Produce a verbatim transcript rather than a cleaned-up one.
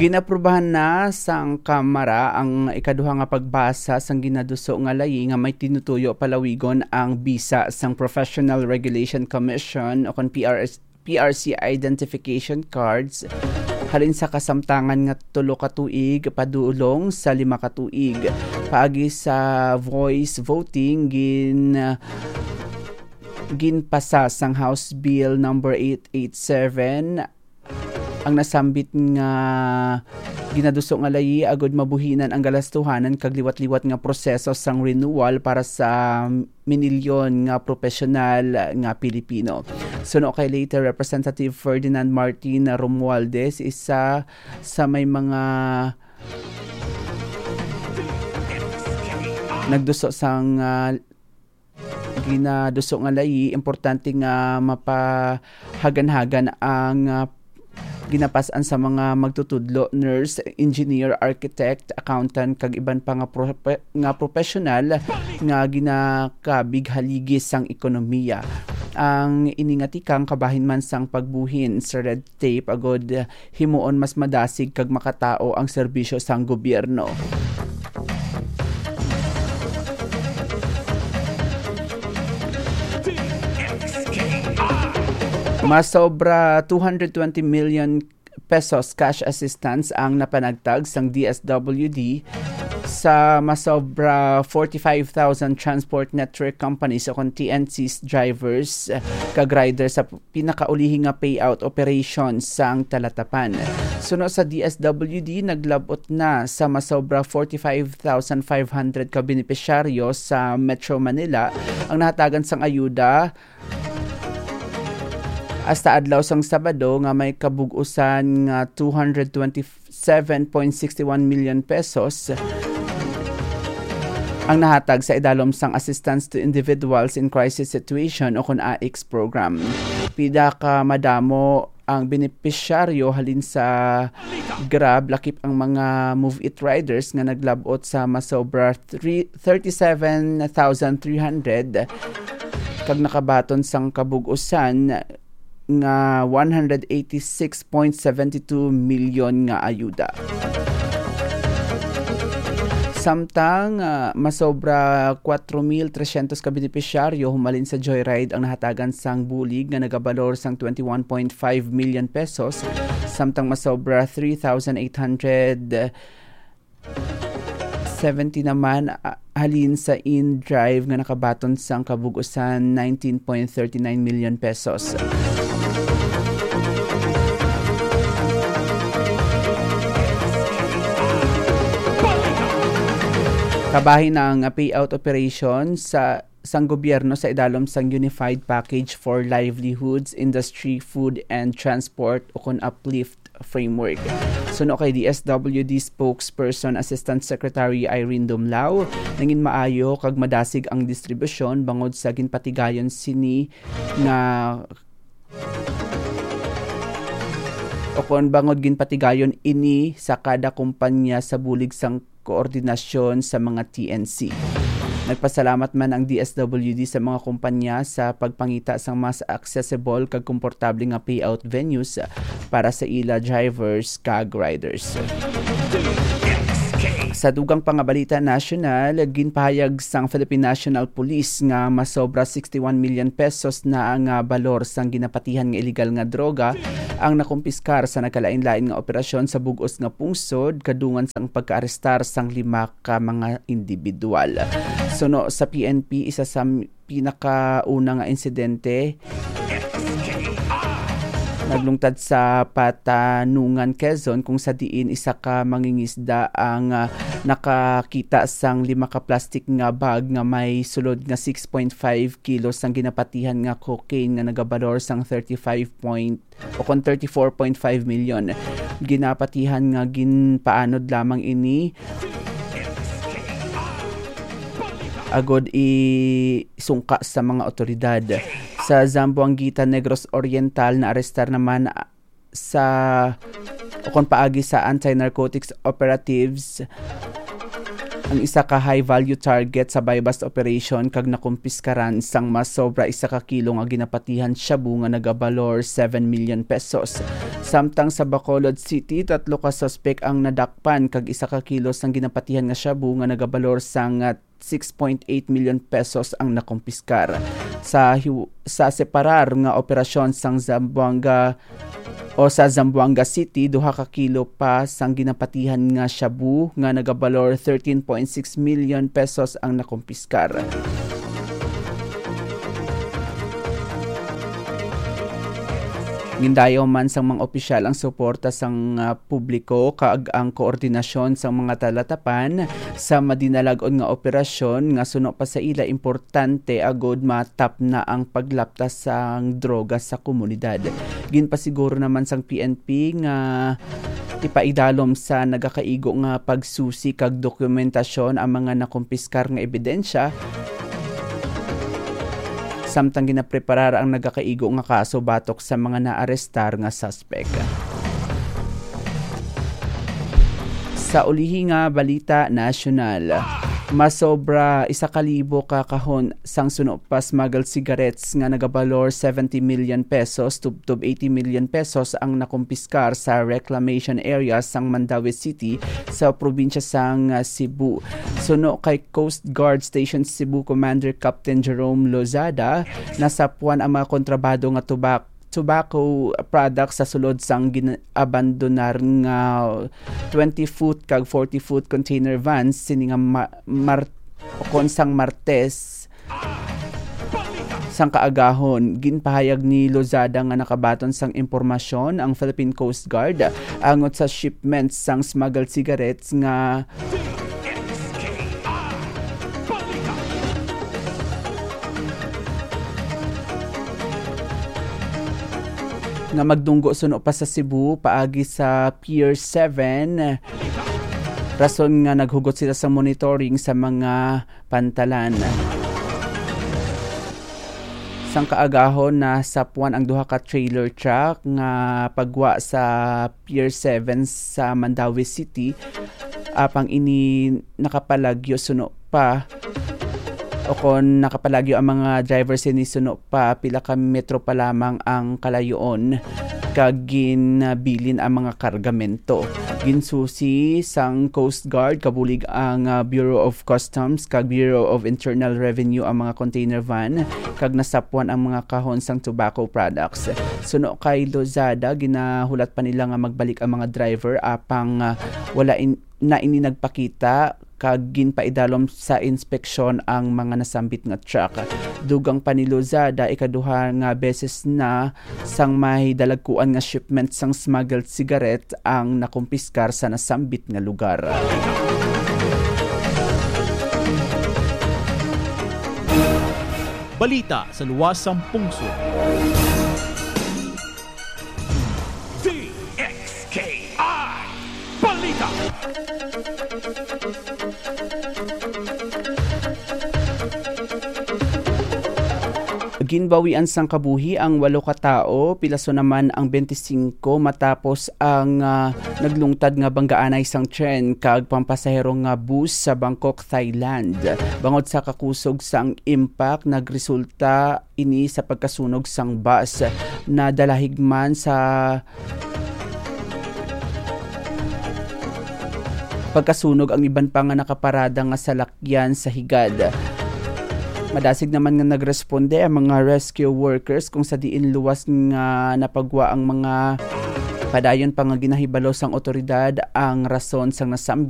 Ginaprubahan na sang Kamara ang ikaduha nga pagbasa sang ginaduso nga layi nga may tinutuyo palawigon ang bisa sang Professional Regulation Commission o kon P R S, P R C identification cards halin sa kasamtangan nga tulo ka tuig padulong sa lima ka tuig. Paagi sa voice voting, gin-, ginpasa sang House Bill number eight eight seven ang nasambit nga ginaduso nga layi agud mabuhinan ang galastuhanan kag liwat-liwat nga proseso sang renewal para sa minilyon nga profesional nga Pilipino. Suno kay late Representative Ferdinand Martin Romualdez, isa sa may mga nagduso sang, ah, ginaduso nga layi, importante nga mapahaganhagan ang, ah, ginapas-an sa mga magtutudlo, nurse, engineer, architect, accountant, kag iban pa nga prope-, nga professional nga ginakabig haligi sang ekonomiya. Ang ini nga tikang kabahin man sang pagbuhin sa red tape agud himuon mas madasig kag makatao ang serbisyo sang gobyerno. Masobra two hundred twenty million pesos cash assistance ang napanagtag sang D S W D sa masobra forty-five thousand transport network companies o kon T N Cs drivers, eh, kag riders sa pinakaulihi nga payout operation sang Talatapan. Suno sa D S W D, naglab-ot na sa masobra forty-five thousand five hundred ka benepisyaryo sa Metro Manila ang nahatagan sang ayuda hasta adlaw sang Sabado nga may kabug-usan nga two hundred twenty-seven point six one million pesos ang nahatag sa idalom sang Assistance to Individuals in Crisis Situation o kon A I C S program. Pila ka madamo ang benepisyaryo halin sa Grab, lakip ang mga Move It riders nga naglab-ot sa masobra three, thirty-seven thousand three hundred kag nakabaton sang kabug-usan nga one hundred eighty-six point seven two million nga ayuda. Samtang, ah, masobra kwatro mil tresyentos ka benepisyaryo humalin sa Joyride ang nahatagan sang bulig nga nagabalor sang twenty-one point five million pesos, samtang masobra three thousand eight hundred seventy naman, ah, halin sa in-drive nga nakabaton sang kabug-usan nineteen point thirty nine million pesos. Kabahin ang payout operation sa, sang gobyerno sa idalom sang Unified Package for Livelihoods, Industry, Food, and Transport, o kon uplift framework. Suno kay D S W D spokesperson Assistant Secretary Irene Dumlao, nangin maayo kag madasig ang distribusyon bangod sa ginpatigayon sini nga o kon bangod ginpatigayon ini sa kada kumpanya sa bulig sang koordinasyon sa mga T N C. Nagpasalamat man ang D S W D sa mga kumpanya sa pagpangita sang mas accessible kag komportable nga payout venues para sa ila drivers kag riders. Sa dugang pa nga balita nasyonal, ginpahayag sang Philippine National Police nga masobra sixty-one million pesos na ang, ah, balor sang ginapatihan nga iligal nga droga ang nakumpiskar sa nagkalain-lain nga operasyon sa bug-os nga pungsod, kadungan sang pagkaarestar sang lima ka mga individual. Suno sa P N P, isa sa m-, pinakauna nga insidente naglungtad sa Patanungan, Quezon, kung sa diin isa ka mangingisda ang, ah, nakakita sang lima ka plastic nga bag nga may sulod nga six point five kilos sang ginapatihan nga cocaine nga nagabalor sang thirty-five point o kon thirty-four point five million. Ginapatihan nga ginpaanod lamang ini agod isungka sa mga otoridad. Sa Zamboanguita, Negros Oriental, naarestar naman sa, o kon paagi sa anti-narcotics operatives, Ang isa ka high-value target sa buy-bust operation kag nakumpiskaran sang mas sobra isa ka kilo nga ginapatihan shabu nga nagabalor seven million pesos. Samtang sa Bacolod City, tatlo ka suspek ang nadakpan kag isa ka kilo sang ginapatihan nga shabu nga nagabalor sang, ah, six point eight million pesos ang nakumpiskar. Sa hiw-, sa separar nga operasyon sang Zamboanga o sa Zamboanga City, duha ka kilo pa sang ginapatihan nga shabu nga nagabalor thirteen point six million pesos ang nakumpiskar. Gindayaw man sang mga opisyal ang suporta sang, ah, publiko kag ang koordinasyon sang mga talatapan sa madinalag-on nga operasyon nga suno pa sa ila importante agud matapna ang paglaptas sang droga sa komunidad. Ginpasiguro naman sang P N P nga ipaidalom sa nagakaigo nga pagsusi kag dokumentasyon ang mga nakumpiskar nga ebidensya, samtang ginapreparar ang nagakaigo nga kaso batok sa mga naarestar nga suspek. Sa ulihi nga balita nasyonal, masobra isa ka libo ka kahon sang suno pa smuggled cigarettes nga nagabalor seventy million pesos tubtob eighty million pesos ang nakumpiskar sa reclamation area sang Mandaue City sa probinsya sang, ah, Cebu. Suno kay Coast Guard Station Cebu Commander Captain Jerome Lozada, nasapwan ang mga kontrabado nga tubak-, tobacco products sa sulod sang gin-, abandonar nga twenty-foot kag forty-foot container vans sini nga ma-, mar-, ukon sang Martes sang kaagahon. Ginpahayag ni Lozada nga nakabaton sang impormasyon ang Philippine Coast Guard angot sa shipment sang smuggled cigarettes nga nga magdunggo suno pa sa Cebu paagi sa Pier seven, rason nga naghugot sila sa monitoring sa mga pantalan. Sang kaagahon, nasapwan ang duha ka trailer truck nga pagwa sa Pier seven sa Mandaue City, apang ini nakapalagyo suno pa, o kon nakapalagyo ang mga driver sini suno pa, pila ka metro pa lamang ang kalayoon, kag ginabilin ang mga kargamento. Ginsusi sang Coast Guard kabulig ang, ah, Bureau of Customs kag Bureau of Internal Revenue ang mga container van, kag nasapwan ang mga kahon sang tobacco products. Suno kay Lozada, ginahulat pa nila nga magbalik ang mga driver, apang, ah, wala in-, na ini nagpakita, kag ginpaidalom sa inspeksyon ang mga nasambit nga truck. Dugang pa ni Lozada, ikaduha nga beses na sang may dalagkuan nga shipment sang smuggled cigarette ang nakumpiskar sa nasambit nga lugar. Balita sa luwas sang pungsod. D X K I Balita. Ginbawian sang kabuhi ang walo ka tawo, pilaso naman ang twenty-five matapos ang, ah, naglungtad nga banggaanay sang tren kag pampasahero nga bus sa Bangkok, Thailand. Bangod sa kakusog sang impact, nagresulta ini sa pagkasunog sang bus. Nadalahig man sa pagkasunog ang iban pa nga nakaparada nga salakyan sa higad. Madasig naman nga nagresponde ang mga rescue workers, kung sa diin luwas nga napagwa ang mga padayon pa nga ginahibalo sang otoridad ang rason sang nasambit